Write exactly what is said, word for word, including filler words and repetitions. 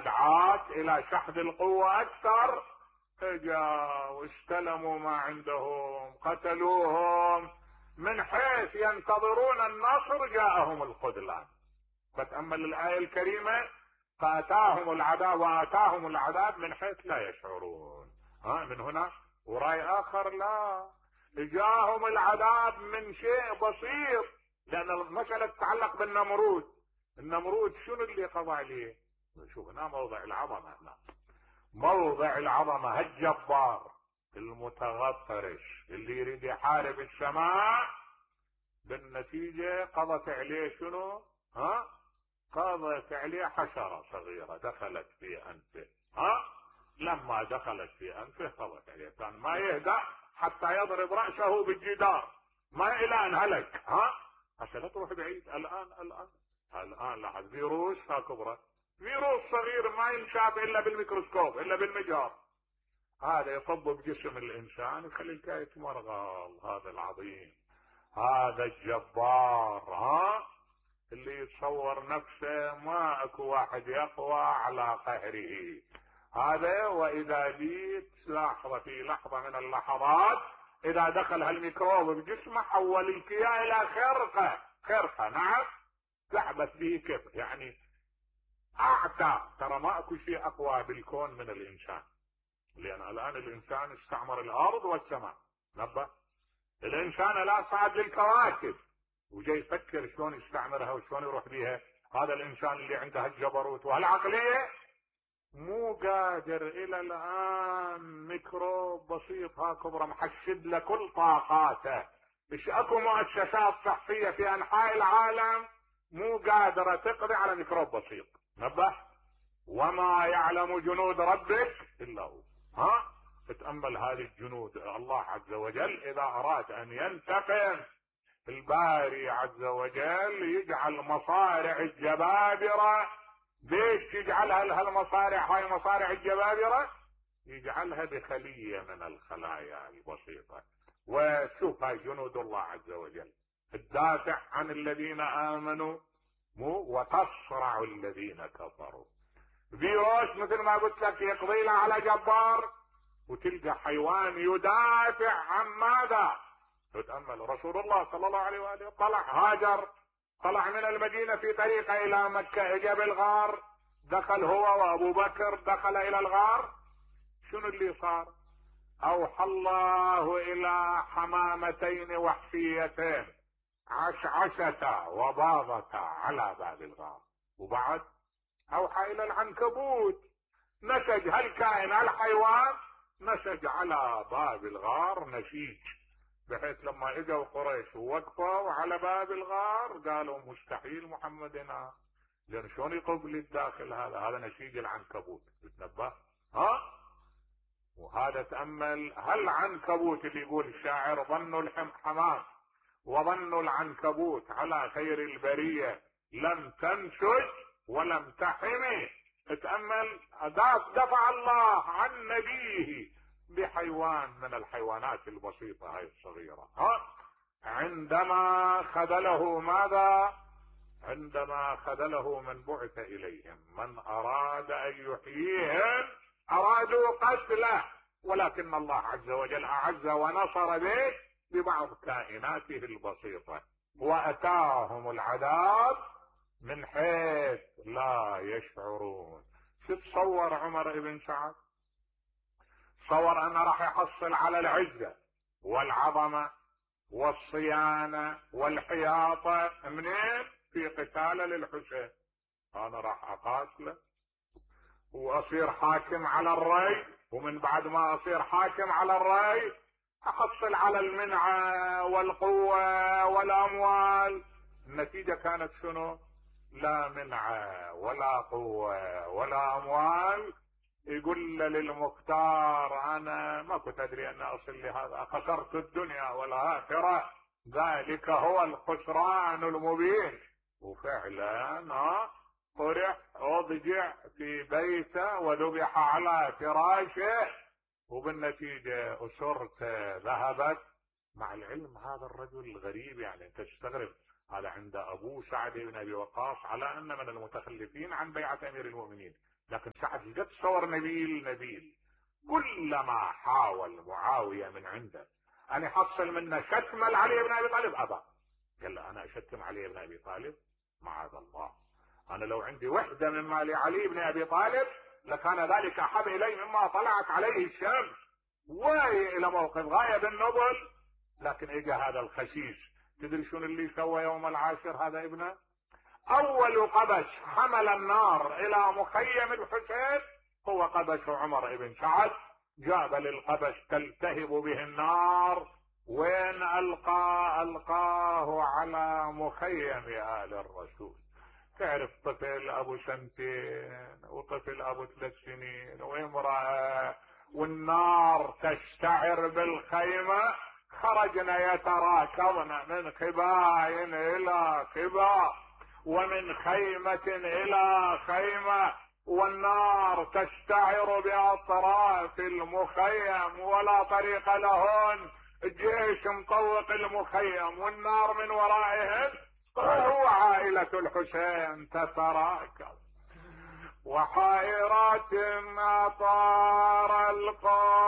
دعات الى شحذ القوة اكثر، اجا واستلموا ما عندهم، قتلوهم، من حيث ينتظرون النصر جاءهم الخذلان. فتأمل الآية الكريمة، فأتاهم العذاب وآتاهم العذاب من حيث لا يشعرون. ها من هنا ورأي آخر لا، جاءهم العذاب من شيء بسيط، لأن المسألة تتعلق بالنمرود. النمرود شنو اللي قضى عليه؟ شوف هنا موضع العظمة، هنا موضع العظمة، هالجبار المتغطرش اللي يريد يحارب السماء، بالنتيجة قضت عليه شنو؟ ها قضت عليه حشرة صغيرة دخلت في أنفه. ها لما دخلت في أنفه قضت عليه، كان ما يهدأ حتى يضرب رأسه بالجدار، ما إلى أن هلك. ها حتى لا تروح بعيد. الآن الآن الآن لاحظ فيروس ها كبرى، فيروس صغير ما ينشاف إلا بالميكروسكوب إلا بالمجهر، هذا يصب بجسم الإنسان يخلي الكاية مرغل. هذا العظيم، هذا الجبار، ها اللي يتصور نفسه ما اكو واحد يقوى على قهره. هذا واذا جيت لحظة في لحظة من اللحظات اذا دخل هالميكروب بجسمه حول الكيان الى خرقة. خرقة نعم، تحبس به كيف يعني اعتى. ترى ما اكو شيء اقوى بالكون من الانسان، لان الان الانسان استعمر الارض والسماء. نبه الانسان لا صعد للكواكب وجاي يفكر شلون يستعمرها وشلون يروح بيها. هذا الانسان اللي عنده الجبروت وهالعقلية مو قادر الى الان. ميكروب بسيط ها كبره محشد له كل طاقاته. ايش اكو مؤسسات صحية في انحاء العالم مو قادرة تقضي على ميكروب بسيط. نبه وما يعلم جنود ربك الا هو. ها تتأمل هذه الجنود. الله عز وجل اذا اراد ان ينتقم، الباري عز وجل يجعل مصارع الجبابرة. ليش يجعلها لها المصارع؟ هاي مصارع الجبابرة يجعلها بخلية من الخلايا البسيطة. وشوف هاي جنود الله عز وجل تدافع عن الذين آمنوا مو وتصرع الذين كفروا. فيروس مثل ما قلت لك يقضي له على جبار، وتلقى حيوان يدافع عن ماذا؟ تتأمل رسول الله صلى الله عليه وآله طلع هاجر، طلع من المدينة في طريقه إلى مكة، اجى بالغار، دخل هو وأبو بكر دخل إلى الغار. شنو اللي صار؟ أوحى الله إلى حمامتين وحشيتين عشعشتا وباضتا على باب الغار، وبعد أوحى إلى العنكبوت نسج هالكائن هالحيوان، نسج على باب الغار نسيج، بحيث لما اجوا قريش ووقفوا على باب الغار قالوا مستحيل محمدنا، لان شلون يقب للداخل هذا؟ هذا نسيج العنكبوت. تتنبه؟ ها وهذا تأمل هالعنكبوت اللي يقول الشاعر ظنوا الحمام وظنوا العنكبوت على خير البرية لم تنسج ولم تحمي. تتأمل دفع الله عن نبيه بحيوان من الحيوانات البسيطة هاي الصغيرة. ها عندما خذله ماذا؟ عندما خذله من بعث إليهم من أراد أن يحييهم أرادوا قتله، ولكن الله عز وجل أعز ونصر به ببعض كائناته البسيطة، وأتاهم العذاب من حيث لا يشعرون. تتصور عمر بن سعد تصور أنه راح يحصل على العزة والعظمة والصيانة والحياطة منين؟ في قتال للحسين. أنا راح أقاتله وأصير حاكم على الري، ومن بعد ما أصير حاكم على الري أحصل على المنعة والقوة والأموال. النتيجة كانت شنو؟ لا منعة ولا قوة ولا أموال. يقول للمختار أنا ما كنت أدري أن أصل لهذا، خسرت الدنيا والآخرة، ذلك هو الخسران المبين. وفعلا ها طرح اضجع في بيته وذبح على فراشه، وبالنتيجة أسرته ذهبت. مع العلم هذا الرجل الغريب، يعني انت تستغرب هذا عند ابوه سعد بن ابي وقاص على ان من المتخلفين عن بيعة امير المؤمنين، لكن سعد قد صور نبيل نبيل. كلما حاول معاوية من عنده ان يحصل منه شتم علي بن ابي طالب ابى. قال له انا اشتم علي بن ابي طالب؟ معاذ الله، انا لو عندي وحدة من مال علي بن ابي طالب لكان ذلك احب الي مما طلعت عليه الشمس. وهي الى موقف غاية بالنبل. لكن اجى هذا الخسيس، تدري شنو اللي سوى يوم العاشر هذا ابنه؟ اول قبش حمل النار الى مخيم الحسين هو قبش عمر بن سعد. جاب للقبش تلتهب به النار، وين القى؟ القاه على مخيم آل الرسول. تعرف طفل ابو سنتين وطفل ابو ثلاث سنين وامرأة والنار تشتعر بالخيمة، خرجنا يتراكضن من قباء الى قباء ومن خيمة الى خيمة، والنار تشتعر باطراف المخيم ولا طريق لهن. الجيش مطوق المخيم والنار من ورائهم، وعائلة الحسين تتراكض وحائرات أطار القوم